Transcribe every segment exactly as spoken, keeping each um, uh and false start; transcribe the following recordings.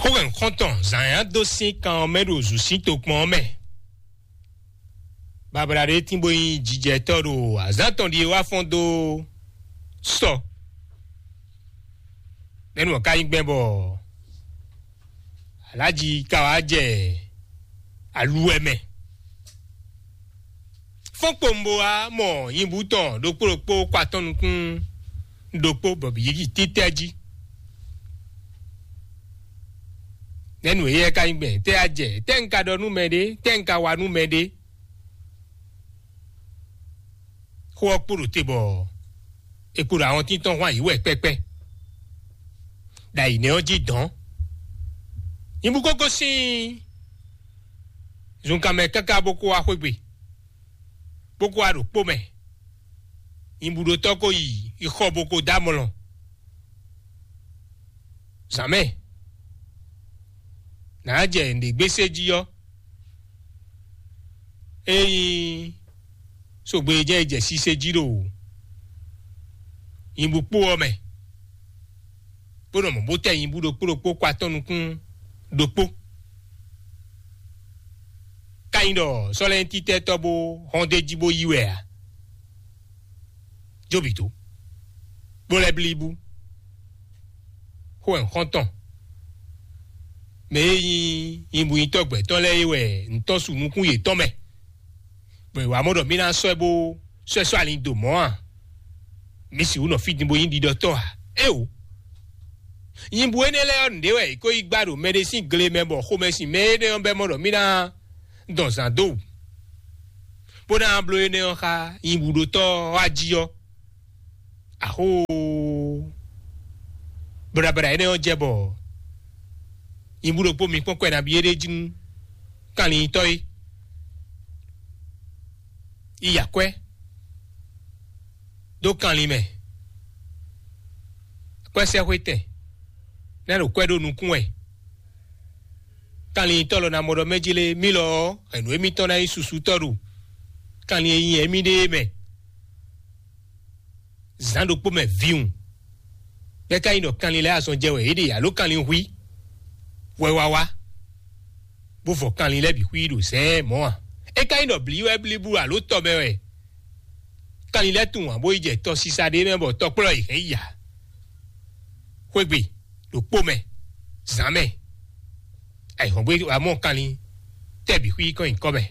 Xó hɛn xɔ́ntɔn zǎn nyá dó sín kan ɔ́ mɛ ɖo zǔsín tokpɔn ɔ́ mɛ. Babla ɖé tín bó nyí jijɛtɔ́ ɖo azǎn tɔn ɖíe wá fɔ́n dó sɔ. Nɛ́nú ɔ́ ka nyí gbɛn bɔ alájí ka wá jɛ aluwɛ mɛ. Fɔ́n kpowun bó wá mɔ nyibú tɔn ɖokpó ɖokpó kɔ atɔn nukún ɖokpó bɔ bǐ yi títɛ́ jí. Nɛ́nú éyɛ́ ka nyí gbɛn tɛ́ a jɛ tɛ́ un ka ɖɔ nú mɛ ɖé tɛ́ un ka wa nú mɛ ɖé. Xó ɔ́ kpo ɖo te bɔ è kpo ɖo awɔntín tɔn hwan yǐ wɛ kpɛ́kpɛ́. Ɖo ayǐ nɛ́ ɔ́ jí dɔ̌n. Nyibú kókó sín zunkan mɛ káká bó kó wá xwé gbe, bó kó wá ɖo kpó mɛ. Nyibúɖótɔ́ ko yi yi xɔ bó ko dó amlɔ. Zǎn mɛ nǎ jɛ nǔɖé gbésé jí ɔ́, ényí sogbe e jɛ yi jɛ sise jí ɖo nyibú kpó ɔ́ mɛ, bó nɔ mɔ̌ bó tɛ nyibú ɖokpó ɖokpó kɔ atɔ́ nukún ɖokpó. Ka nyí ɖɔ sɔ́lɛ́ntítɛ́tɔ́ bó hɔn d'é jí bó yí wɛ ǎ. Jóbǐ dó, bó lɛ́ blí bú. Xó wɛ un xɔ́n tɔn. Mɛ e nyí nyibúnyitɔ́ gbɛ̌tɔ́ lɛ́ɛ é wɛ un tɔ́n su nukún yětɔn mɛ, bɔ è wǎ mɔ ɖɔ mì ná sɔ́ ɛ bó sɔ́ ɛ sɔ́ alin dó mɔ̌ a? Mǐ sixú nɔ fí din bó nyí ɖiɖɔtɔ́ a? Éeǒ! Nyibú énɛ́ lɛ́ɛ ɔ́, nǔɖé wɛ è ko yi gbá ɖo mɛɖé sín gle mɛ bɔ xomɛ sin mɛ énɛ́ ɔ́ bɛ́ mɔ ɖɔ mì ná dɔn zǎn dó wǔ, bó ná bló énɛ́ ɔ́ xá nyibúɖótɔ́ ɔ́ ají ɔ́. Axóo! Blabla énɛ́ ɔ́ jɛ bɔ nyibú ɖokpó mi kpɔ́n kwɛ nabí é ɖé jí nú kanlintɔ́ é. Yi akwɛ́ dó kanlin mɛ. Akwɛ́sɛ́xwétɛn ná ɖo kwɛ́ ɖó nukún wɛ. Kanlintɔ́ lɔ ná mɔ ɖɔ mɛ jí lé mí lɔ ɔ́, hɛ̌nnu émítɔn ná nyí susútɔ́ ɖo kanlin e nyi émí ɖe é mɛ. Zǎn ɖokpó mɛ vǐwun, bɛ́ ka nyí ɖɔ kanlin lɛ́ɛ azɔn jɛ wɛ yě ɖe alo kanlin hwí wɛ wá wá, bó vɔ kanlin lɛ́ɛ bǐ xwí ɖo zɛ̌ɛn mɔ̌ a? É ka nyí ɖɔ blǐ wɛ blíbú alo tɔ mɛ wɛ kanlin lɛ́ɛ tunwun ǎ bó yi jɛ tɔsisa ɖé mɛ bɔ tɔkplɔ́ yě hɛn yi ǎ. Xwé gbe ɖo kpó mɛ, zǎn mɛ, ayǐhɔ́ngbe wá mɔ kanlin tɛ́ bǐ xwí kɔn nyǐkɔ mɛ.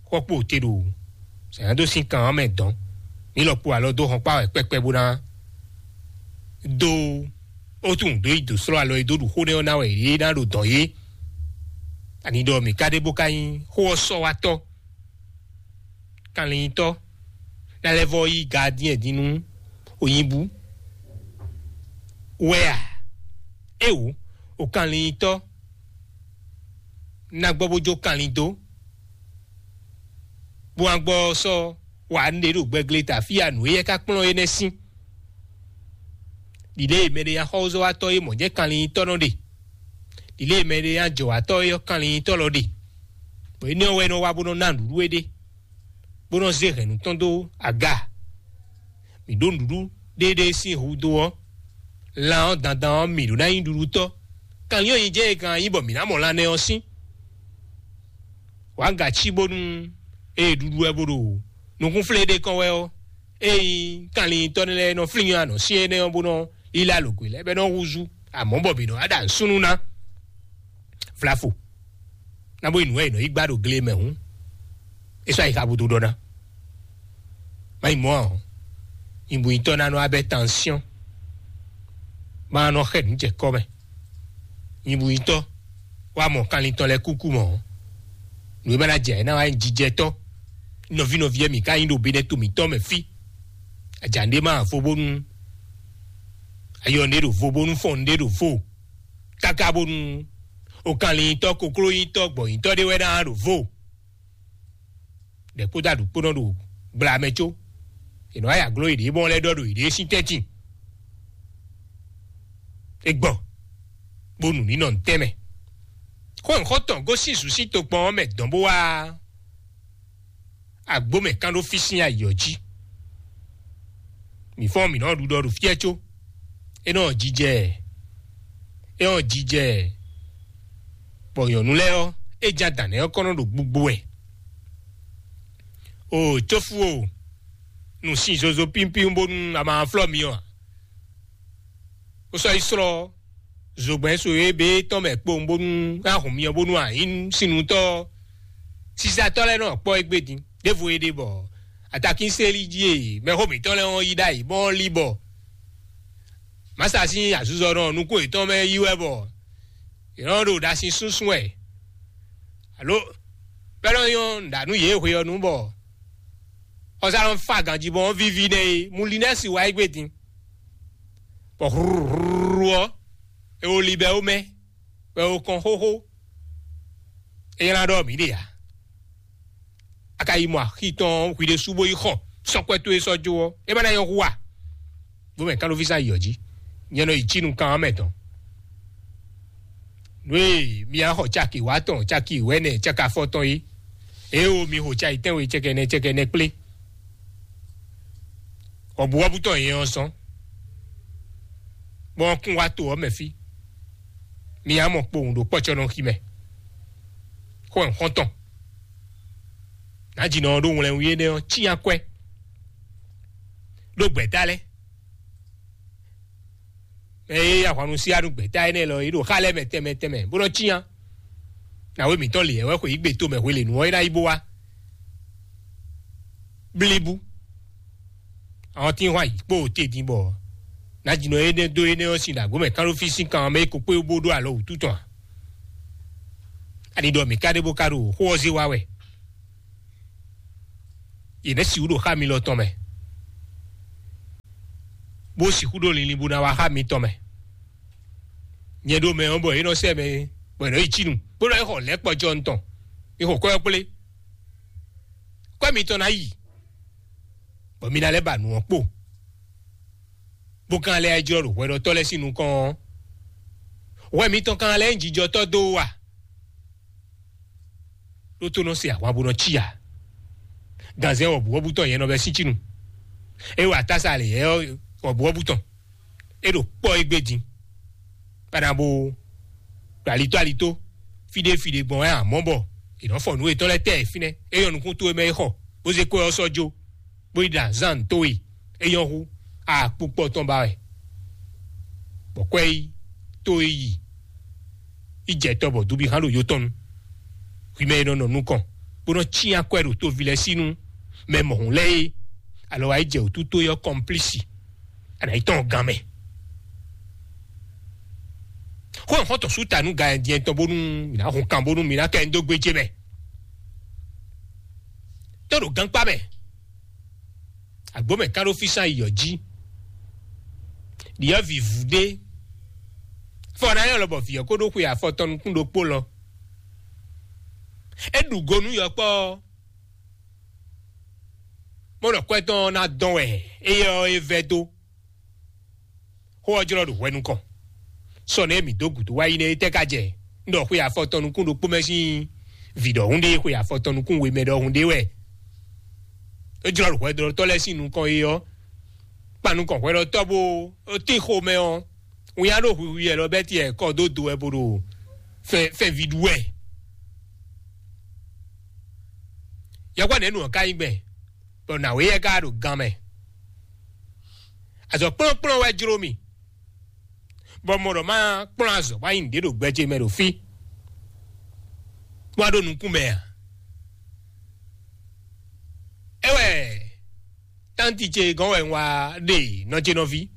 Xɔ kpo te ɖo zǎn dó sín kan ɔ́ mɛ dɔn. Mǐ lɔ kpo alɔ dó hɔn kpá wɛ kpɛkpɛ bó ná dó ó tunwun dó yi dǒ slɔ́ alɔ e dó ɖu xó nɛ́ ɔ́ ná wɛ yě ná ɖo dɔ̌n yé. Ani ɖɔ mǐ ka ɖe bó ka nyí xó ɔ́ sɔ́ wá tɔ́, kanlintɔ́ ná lɛ́ vɔ́ yí gadyɛ́n din nú onyibú wɛ a? Éwo, o kanlintɔ́ ná gbɔ bó jó kanlin dó, bó wá gbɔ sɔ́ wa nǔɖé ɖo gbɛgle ta fí a nǔ éyɛ́ ka kplɔ́n énɛ́ sín. Ɖiɖée e mɛɖé nyi axɔ́zɔ́watɔ́ e mɔ̌ jɛ́n kanlintɔ́ nɔ ɖe. Ɖiɖée e mɛɖé nyi ajɔ̌watɔ́ e ɔ́ kanlintɔ́ lɔ ɖe. Bɔ énɛ́ ɔ́ wɛ é nɔ wá bó nɔ́ ná nǔɖuɖu éɖée, bó nɔ́ zé hɛ̌nnu tɔn dó aga. Mǐ ɖó nǔɖuɖu ɖéeɖée sín hudó ɔ́, lan ɔ́ dandan ɔ́, mǐ ɖó ná nyí ɖuɖutɔ́. Kanlin ɔ́ nyi jɛ́n e kan nyí bɔ mǐ ná mɔ lan nɛ́ ɔ́ sín. Wǎ ga cí bónú ée ɖuɖu wɛ bó ɖo nukúnflé ɖé kɔn wɛ ɔ́, ée nyí kanlintɔ́ lɛ́ɛ nɔ flín anɔ̌ sín énɛ́ ɔ́ bó nɔ́ lílá lǒgbe lɛ́ɛ bɔ é nɔ́ húzú amɔ̌ bɔ mǐ nɔ wá ɖo asúnú ná. Vlafo ná bó yi nǔ wɛ è nɔ yi gbá ɖo gle mɛ hǔn, é sɔ́ ayixa bó dó ɖɔ ná. Má yi mɔ̌ ǎ ɔ́, nyibúnyitɔ́ ná nɔ abɛ tansyɔ́n, má nɔ xɛ nǔ jɛ kɔ́ mɛ. Nyibúnyitɔ́ wá mɔ kanlin tɔn lɛ́ɛ kúkú mɔ̌. Nǔ e ma ná jɛ ná wá nyí jijɛtɔ́. Nɔví nɔví e mǐ ka nyí ɖo Benɛto mǐtɔn mɛ fí. Aja nɖé ma vo bónú ayɔ nɖé ɖo vo bónú fɔn nɖé ɖo vo. Káká bónú okanlintɔ́ koklónyitɔ́ gbɔ̌nyitɔ́ ɖé wɛ ná ɖo vo. Ɖɛ kpódó aɖǔ kpó nɔ ɖo gbla mɛ có. È nɔ wá yi agló yěɖée mɔ lɛ́ɛ ɖɔ ɖo yěɖée sín tɛ́ntin. É gbɔ bó nu nǐ nɔ ntɛ́nmɛ. Xó nyǐxɔ́tɔn gosín zǔ sín tokpɔn ɔ́ mɛ dɔn bó wá agbó mɛ kán ɖó fí sín ayǐ ɔ́ jí. Mǐ fɔ́n mǐ nɔ ɖuɖɔ ɖo fí ɔ́ có. É nɔ jijɛ ɛ. É ɔ́ jijɛ, bɔ nyɔ̌nu lɛ́ɛ ɔ́, é jɛ adǎn nɛ́ ɔ́ kɔn nɔ ɖo gbugbo wɛ. O cófu o, nǔ sin zozo pínpín bónú a ma flɔ́ mi ɔ́ ǎ. Ó sɔ́ yi slɔ́ zogbɛ́n so e bé tɔn mɛ kpowun bónú a hun mi ɔ́ bónú a nyǐ sinutɔ́ ɔ́. Sisatɔ́ lɛ́ɛ nɔ kpɔ́ égbé din ɖěvo é ɖe bɔ atakínseli jí e mɛxó mǐtɔn lɛ́ɛ ɔ́ yí ɖ'ayǐ bɔ ɔ́ lí bɔ mǎsa sín azuzɔnɔ nukún yětɔn mɛ yí wɛ bɔ yě nɔ ɖo ɖasin súnsún wɛ alo bɛ́ nɔ nyɔ́ nǔɖanú yě hwe ɔ́ nu bɔ xɔsá nɔ fa ganjí bɔ ɔ́ víví nɛ́ é. Mulinɛ́si wá égbé din bɔ hlúhlúhlú ɔ́, é wo li bɛ́ ó mɛ bɔ é wo kɔn xóxó. É nylá ɖɔ mǐ ɖe ǎ. A ka yi mɔ axi tɔn hwi ɖésú bó yi xɔ sɔ́kwɛ́ towe sɔ́ jó ɔ́, é má ná nyɔ́ hu a? Bó mɛ kánɖóví sán yi ɔ́ jí, nyɛ nɔ yi cí nukán ɔ́ mɛ tɔn. Nú e mi á xɔ caki wǎ tɔn, caki wɛ̌nɛ, caki afɔtɔn é, é o mi xo cayi tɛ́nwe cɛkɛnɛ cɛkɛnɛ kplé. Wɔ̌buwɔ́bú tɔn nyɛ ɔ́ zɔ́n, bɔ ɔ́ kún wá to ɔ́ mɛ fí. Mi á mɔ kpowun ɖo kpɔ́cɔ́nɔxi mɛ. Xó ɛ xɔ́ntɔn. Nǎjínɔ ɔ́ ɖó wlɛnwí énɛ́ ɔ́ cyán kwɛ́ ɖó gbɛ̌ta lɛ́ɛ. Mɛ e yí ahwannu sí anú gbɛ̌ta énɛ́ lɔ é ɖo xá lɛ́ɛ mɛ tɛnmɛ tɛnmɛ bó nɔ́ cyán. Nǎwe mǐtɔn lě wɛ xwe yí gbe tomɛ hwelěnu ɔ́ é ná yi bó wá. Blíbú. Àwọn tí ń hwan yǐ kpó te din bɔ nǎjínɔ énɛ́ dó énɛ́ ɔ́ sin ɖo agbǒ mɛ kánɖófí sín kan ɔ́ mɛ é ko kpé bó ɖó alɔ wǔtu tɔn ǎ. Ani ɖɔ mǐ ka ɖe bó ka ɖo xó ɔ́ zé wá wɛ. Yě nɛ́ sixú ɖo xá mi lɔ tɔn mɛ, bó sixú ɖo linlin bó ná wá xá mi tɔn mɛ. Nyɛ ɖo mɛ ɔ́ bɔ é nɔ sɛ mɛ bɔ è nɔ yi cí nu, bó nɔ yi xɔ lɛ̌ kpɔjɔ tɔn. Mi xɔ kwɛ́ ɔ́ kplé. Kwɛ́ mitɔn ná yi, bɔ mi ná lɛ́ ba nǔ ɔ́ kpo, bó ka lɛ́ jlɔ́ ɖo hwɛɖɔtɔ́ lɛ́ɛ sín nukɔn ɔ́. Hwɛ mitɔn ka lɛ́ nyí jijɔtɔ́ dó wú a? Ɖó tó nɔ se ahwan bó nɔ cí ǎ. Ganzɛ́n wɔ̌buwɔ́bú tɔn nyɛ nɔ bɛ́ sín cí nu. É wa tása lě yɛ wɔ̌buwɔ́bú tɔn. É ɖo kpɔ́ égbé din. Bana bo ɖo alitó alitó, fíɖé fíɖé gbɔn wɛ amɔ̌ bɔ è nɔ fɔ nǔ yětɔn lɛ́ɛ tɛ fínɛ́. É nyɔ́ nukún towe mɛ é xɔ, bó zé kwɛ́ ɔ́ sɔ́ jó, bó yi ɖo azán towe, é nyɔ́ hú akpukpɔ tɔn ba wɛ. Bɔ kwɛ́ yi, tó e yi, yi jɛ tɔ bɔ dubi hán ɖo yó tɔn nu. Hwi mɛ e nɔ nɔ nukɔn, bó nɔ cyán kwɛ́ ɖo toví lɛ́ɛ sí nú mɛ mɔ̌hun lɛ́ɛ é, alɔ wá yi jɛ wǔtu tó yɔ́ kɔmplísi, a nǎ yi tɔn gan mɛ. Xó ɔ́ xɔ́ntɔn sú ta nú gan ɛ din tɔn bónú mǐ ná hun kan bónú mǐ ná kɛ nyi dó gbéjé mɛ. Tó ɖo gankpá mɛ, agbǒ mɛ ká ɖó físán yi yɔ jí. Ɖyɔ̌vǐ vú ɖé. Fɔ ná nyɔ́ lɔ bɔ vǐ ɔ́ kó ɖó xwe afɔ tɔn nukún ɖokpó lɔ. É ɖu go nú yɔkpɔ́ ɔ́, mɔ ɖɔ kwɛ́ tɔn ɔ́ ná dɔn wɛ éyɛ́ ɔ́ é vɛ́ dó. Xó ɔ́ jlɔ́ ɖo hwɛ nukɔn. Sɔ nɛ́ mǐ dó gǔdo wá yi nɛ́ é tɛ́ ka jɛ? Un ɖɔ xwe afɔ tɔn nukún ɖokpó mɛ sín vǐ ɖɔhun ɖé, xwe afɔ tɔn nukún we mɛ ɖɔhun ɖé wɛ. É jlɔ́ ɖo hwɛɖɔtɔ́ lɛ́ɛ sín nukɔn é ɔ́, kpan nukɔn hwɛɖɔtɔ́ bó tín xomɛ ɔ́, winnyá ɖo hwiwi wɛ lɔ bɛ́ tiɛ kɔ dó do wɛ bó ɖo fɛnví ɖu wɛ. Yɔkpɔ́ nɛ̌ nu ɔ́ ka nyí gbɛn, bɔ nǎwe yɛ ka ɖo gan mɛ. Azɔ kplɔ́nkplɔ́n wɛ jló mì, bɔ mɔ ɖɔ má kplɔ́n azɔ̌ bó ná nyi nǔɖé ɖo gbɛ ce mɛ ɖo fí, bó wá ɖo nukún mɛ ǎ. É wɛ tánti ce gɔ́n wɛ un wá ɖe nɔ ce nɔví.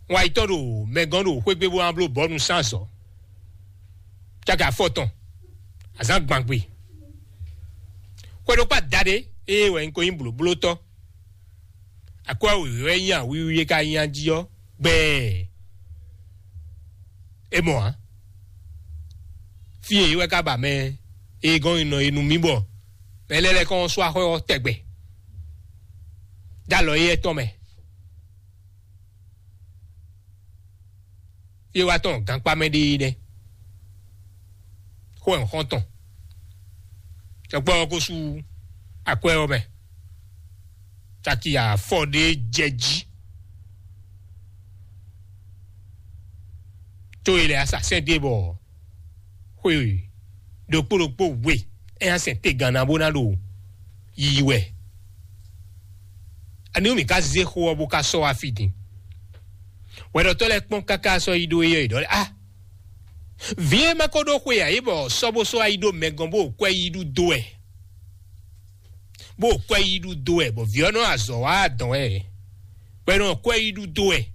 Un wá yi tɔ́n ɖo mɛ gɔ́n ɖo xwé gbe bó wá bló bɔ̌nu sín azɔ̌. Cáka afɔ tɔn, azǎn gbangbe. Xwedokpá daɖé eye wɛ un ko nyí blǒblótɔ́. Akwɛ́ wěwé wɛ nyí awiwi e ka nyi ají ɔ́ gbɛɛ. É mɔ ǎ. Fí e wɛ ka ba mɛ e gɔ́n nyi nɔ e nú mì bɔ mɛ lɛ́ɛ lɛ́ kɔn sɔ́ axɔ́ ɔ́ tɛgbɛ. Dó alɔ éyɛ́ tɔn mɛ. Fí e wá tɔn gankpá mɛ ɖe é nɛ́. Xó ɛ xɔ́ntɔn. Sɔkpɔ́ ɔ́ ko sú akwɛ́ ɔ́ mɛ. Caki afɔ ɖé jɛ jí. Tó e lɛ asasɛn ɖe bɔ xwe ɖokpó ɖokpó we ɛ asɛn te ganna bó ná ɖo yiyi wɛ. Ani mi ka zé xó ɔ́ bó ka sɔ́ wá fí din? Wɛɖɔtɔ́ lɛ́ɛ kpɔ́n káká sɔ́ yi ɖó éyɛ́ yi ɖɔ lɛ́ɛ ah, vǐ e ma ko ɖó xwe ǎ é bɔ sɔ́ bó sɔ́ wá yi ɖó mɛ gɔ́n bó kwɛ yi ɖu dó wɛ, bó kwɛ yi ɖu dó wɛ bɔ vǐ ɔ́ nɔ azɔ̌ wá adɔn wɛ, bɔ é nɔ kwɛ yi ɖu dó wɛ.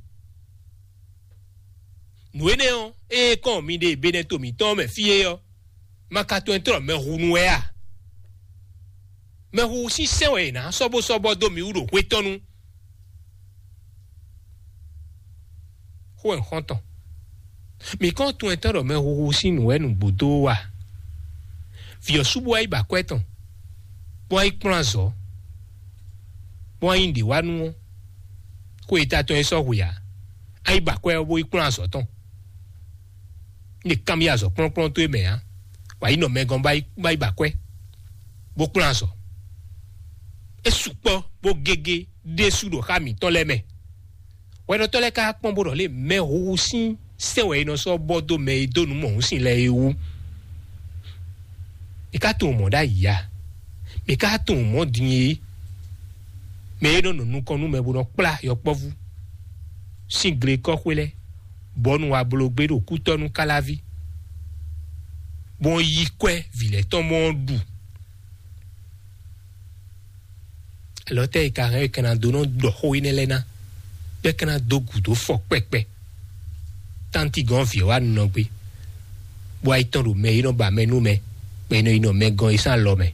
Nǔ énɛ́ ɔ́, ée kɔn mi ɖe Benɛto mǐtɔn mɛ fí é ɔ́, ma ka tunwun tlɔ́ mɛhunu wɛ a? Mɛhu sín sɛ́n wɛ è nǎ sɔ́bósɔ́bɔ́ dó mi wú ɖo hwetɔ́nu. Xó wɛ xɔ́ntɔn. Mǐ kɔn tunwun tɔn ɖɔ mɛhuhu sín nǔ wɛ nǔgbó dó wú a? Vǐ ɔ́ sú bó wá yi ba akwɛ́ tɔn, bó wá yi kplɔ́n azɔ̌, bó wá yi nǔɖé wá nú ɔ́, xó e ta tɔn e sɔ́ hwe ǎ. A yi ba akwɛ́ ɔ́ bó yi kplɔ́n azɔ̌ tɔn. Ní kanbyɔ́ azɔ̌ kplɔ́nkplɔ́n towe mɛ ǎ, wǎ yi nɔ mɛ gɔ́n bá yi bá yi ba akwɛ́, bó kplɔ́n azɔ̌. É sukpɔ́ bó gégé ɖésú ɖo xá mǐtɔn lɛ́ɛ mɛ. Hwɛɖɔtɔ́ lɛ́ɛ ka kpɔ́n bó ɖɔ lé mɛ huhu sín sɛ́n wɛ è nɔ sɔ́ bɔ dó mɛ e dó nǔ mɔ̌hun sin lɛ́ɛ é wú. È ka tunwun mɔ̌ ɖ'ayǐ a? Mǐ ka tunwun mɔ̌ din é? Mɛ e nɔ nɔ nukɔn nú mɛ bó nɔ kplá yɔkpɔ́vú sín glekɔ́xwé lɛ́ɛ, bɔ nú wa bló gbé ɖo kútɔ́ nú káláví, bó yi kwɛ́ vǐ lɛ́ɛ tɔn mɔ ɔ́ ɖu. Alɔ tɛ́ e ka hɛn e ka ná dó nɔ ɖɔ xó énɛ́ lɛ́ɛ ná, bɔ é ka ná dó gǔdo fɔ kpɛkpɛ? Tánti gɔ́n vǐ ɔ́ wá nɔ gbé, bó wá yi tɔn ɖo mɛ e nɔ ba mɛ nú mɛ, bɔ è nɔ yi nɔ mɛ gɔ́n e sín alɔ mɛ.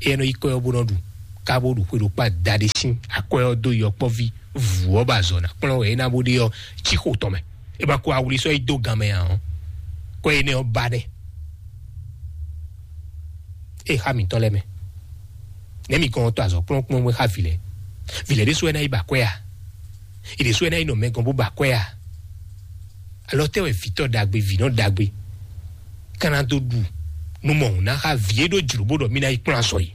Éyɛ́ nɔ yi kɔ́ ɔ́ bó nɔ ɖu, ká bó ɖu xwe ɖokpá da ɖé sín akwɛ́ ɔ́ dó yɔkpɔ́ví vǔ ɔ́ ba azɔ̌ ná kplɔ́n wɛ é ná bó ɖe ɔ́ cí xo tɔn mɛ. É ma ko awli sɔ́ yi dó gan mɛ ǎ ɔ́, kɔ́ énɛ́ ɔ́ ba nɛ́. Ée xá mǐtɔn lɛ́ɛ mɛ, nɛ̌ mi kɔn tɔ azɔ̌ kplɔ́nkplɔ́n bó xá vǐ lɛ́ɛ? Vǐ lɛ́ɛ ɖésú wɛ ná yi ba akwɛ́ a? È ɖě sú wɛ ná yi nɔ mɛ gɔ́n bó ba akwɛ́ a? Alɔ tɛ́ wɛ vǐtɔ́ ɖagbe, vǐnɔ ɖagbe, ka ná dó ɖu nú mɔ̌hun ná xá vǐ e ɖó jlǒ bó ɖɔ mí ná yi kplɔ́n azɔ̌ yi?